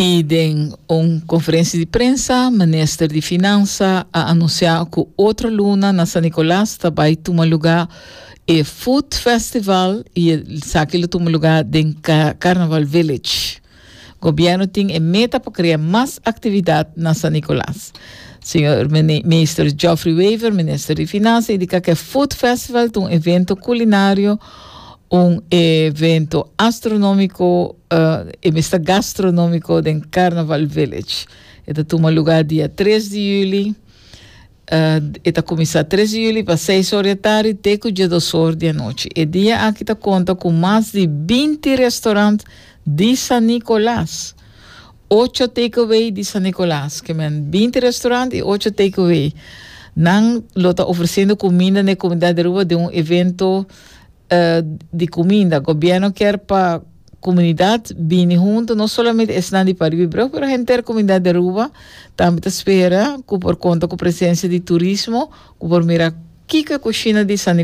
Y den un conferencia di prensa, Minister di Finansa a anuncia cu otro luna na San Nicolas ta bay tuma luga e Food Festival y esaki lo tuma luga den Carnaval Village. Gobierno tin e meta pa crea mas actividad na San Nicolas. Señor Minister Geoffrey Wever, Minister di Finansa, indica cu e Food Festival ta un evento culinario, un evento astronomico, e mester gastronomico den Carnaval Village. E ta tuma lugar dia 3 di juli. E ta kuminsá 3 di juli pa 6 or di atardi te ku 12 or di anochi. E dia aki ta konta ku mas di 20 restaurant di San Nicolas. Ocho takeaway di San Nicolas. Ke men 20 restaurant i 8 takeaway. Nan lo ta ofresiendo kuminda na e komunidat di Aruba den un evento di kuminda. Gobièrnu kier pa komunidat bini huntu, no solamente esnan di Pariba i Brug, pero henter komunidat di Aruba tambe ta spera ku por konta ku presensia di turismo ku por mira kiko e kushina di San.